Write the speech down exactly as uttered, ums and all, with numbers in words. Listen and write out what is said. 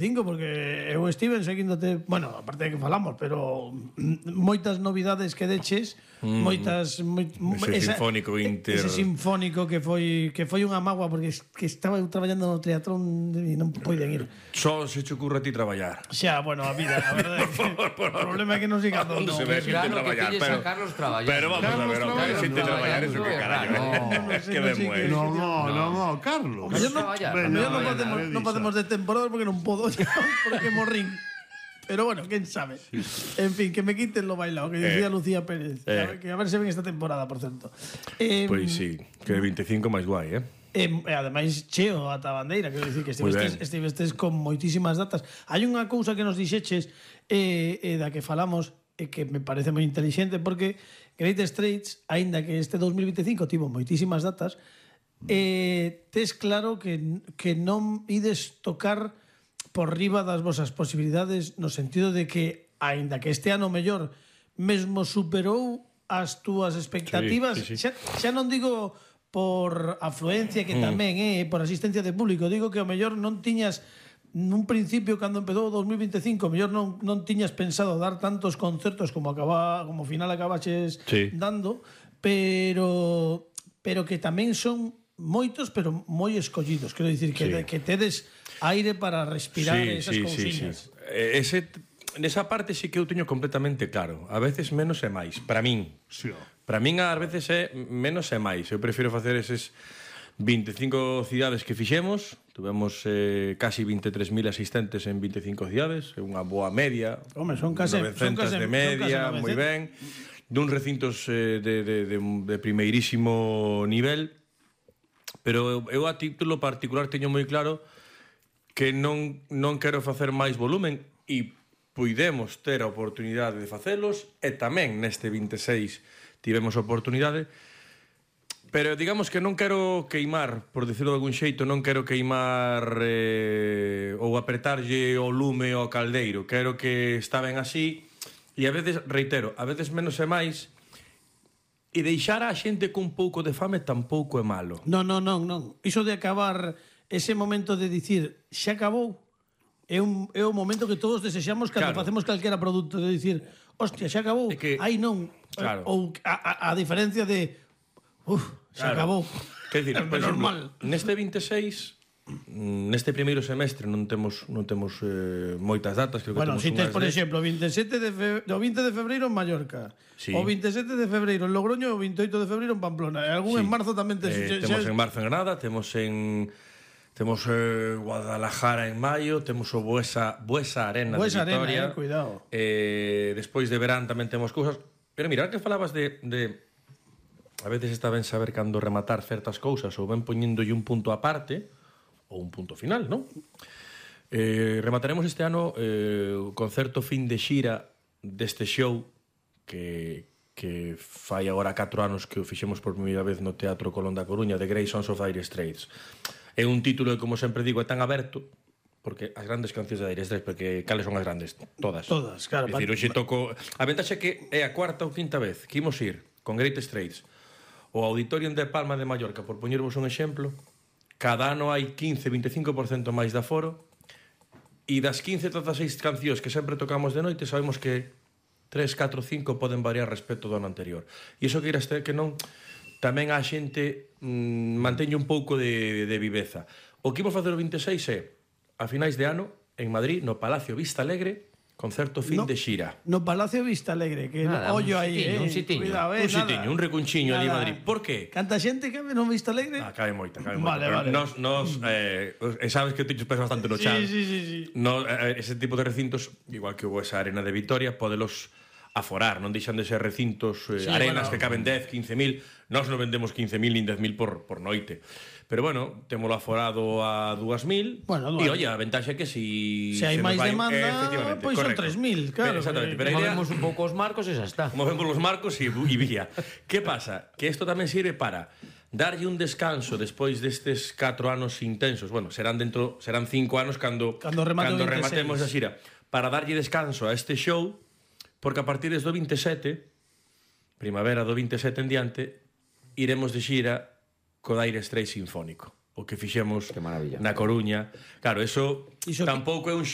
Cinco, porque eu estive seguíndote, bueno, aparte de que falamos, pero moitas novidades que deches, mm, moitas moi, ese esa, sinfónico inter... ese sinfónico que foi que foi unha mágoa porque que estaba eu traballando no teatrón e non poden ir. Só se che ocurre a ti traballar. Xa, bueno, a vida, a verdade. O problema é que non siga todo. Non se ve xente traballar, pero a Carlos traballar. Pero vamos a ver, a ver, xente traballar eso que carallo. Que demues. No, no, no, no, Carlos. Non podemos non podemos de temporada porque non podo. Porque morrín. Pero bueno, quién sabe. Sí. En fin, que me quiten lo bailado, que decía eh, Lucía Pérez. Eh. A ver, que a ver se ven esta temporada, por cierto. Eh, pois pues sí, que veinticinco máis guai, eh? E eh, ademais cheo ata bandeira, quero dicir que estivestes, estivestes con moitísimas datas. Hai unha cousa que nos dixeches eh, eh, da que falamos e eh, que me parece moi inteligente porque Great Straits, aínda que este dos mil veinticinco tivo moitísimas datas, eh, tes claro que, que non ides tocar por riba das vosas posibilidades no sentido de que, aínda que este ano mellor mesmo superou as túas expectativas, sí, sí, sí. Xa, xa non digo por afluencia, que tamén é, eh, por asistencia de público, digo que ao mellor non tiñas nun principio cando empezou o dos mil veinticinco, mellor non, non tiñas pensado dar tantos concertos como acaba, como final acabaches sí. dando, pero pero que tamén son moitos, pero moi escollidos. Quero dicir que, sí. que tedes aire para respirar sí, esas sí, cousiñas. Sí, sí. Ese, nesa parte sí que eu teño completamente claro. A veces menos é máis. Para min. Sí. Para min a veces é menos é máis. Eu prefiro facer eses veinticinco cidades que fixemos. Tuvemos eh, casi veintitrés mil asistentes en veinticinco cidades. É unha boa media. Home, son case novecentos de media, moi ben. Dun recintos eh, de, de, de, de primeirísimo nivel. Pero eu a título particular teño moi claro que non, non quero facer máis volumen e puidemos ter a oportunidade de facelos e tamén neste veintiséis tivemos a oportunidade, pero digamos que non quero queimar, por decirlo de algún xeito, non quero queimar eh, ou apretarlle o lume ao caldeiro, quero que está ben así e a veces, reitero, a veces menos é máis. E deixar a xente con un pouco de fame tampouco é malo. Non, non, non, non. Iso de acabar ese momento de dicir xa acabou é un é o momento que todos desexamos cando claro. facemos calquera produto, de dicir, hostia, xa acabou. Que, Ai, non. Claro. Ou a, a, a diferencia de uf, xa claro. acabou. Quer dicir, por exemplo, neste veintiséis, neste primeiro semestre non temos non temos eh, moitas datas, creo que bueno, temos si tes, por de... exemplo, veinte e sete de fe... o vinte de febreiro en Mallorca, sí. o veinte e sete de febreiro en Logroño, o veinte e oito de febreiro en Pamplona, e algún sí. en marzo tamén tes... eh, temos en marzo en Granada, temos en temos eh, Guadalajara en maio, temos o Buesa Buesa Arena Buesa de Vitoria. Arena, eh, cuidado. Eh, despois de verán tamén temos cousas, pero mira, que falabas de, de a veces está ben saber cando rematar certas cousas ou ben poñéndolle un punto aparte ou un punto final, non? Eh, remataremos este ano eh, o concerto fin de xira deste show que, que fai agora catro anos que o fixemos por primeira vez no Teatro Colón da Coruña, de Great Sons of Dire Straits. É un título que, como sempre digo, é tan aberto porque as grandes cancións de Dire Straits, porque cales son as grandes? Todas. Todas, claro. É dicir, hoxe toco... A ventaxa é que é a cuarta ou quinta vez que imos ir con Great Straits o Auditorium de Palma de Mallorca, por poñervos un exemplo. Cada ano hai quince a veinticinco por cento máis de aforo e das quince a dezasseis cancións que sempre tocamos de noite sabemos que tres, catro, cinco poden variar respecto do ano anterior. E iso que irás ter que non tamén a xente mmm, manteñe un pouco de, de viveza. O que imos facer o veintiséis é a finais de ano en Madrid, no Palacio Vista Alegre, concerto fin no, de xira. No Palacio Vista Alegre, que nada, ollo aí, eh. Un sitiño, cuidado, eh, un sitiño, un recunchiño ali en Madrid. Por qué? Canta xente cabe no Vista Alegre? Ah, cabe moita, cabe vale, moita. Vale. Nos, nos eh, sabes que te pesa bastante no chan. Sí, sí, sí, sí. No, eh, ese tipo de recintos, igual que hubo esa arena de Vitoria, podelos aforar, non deixan de ser recintos, eh, sí, arenas bueno, que caben dez, quince mil. Nós non vendemos quince mil nin dez mil por, por noite. Pero bueno, témolo aforado a dúas mil. Bueno, e oye, a ventaxa é que si se hai máis vai, demanda, eh, pois pues son tres mil, claro. Pero, exactamente, pero movemos un pouco os marcos e xa está. Movemos os marcos e, e vía. Que pasa? Que isto tamén sirve para darlle un descanso despois destes catro anos intensos. Bueno, serán dentro serán cinco anos cando cando, cando rematemos a xira, para darlle descanso a este show, porque a partir do veintisiete, primavera do veintisiete en diante, iremos de xira co Dire Straits sinfónico. o que fixemos Que maravilla. na Coruña. Claro, eso, Iso que- tampouco é un show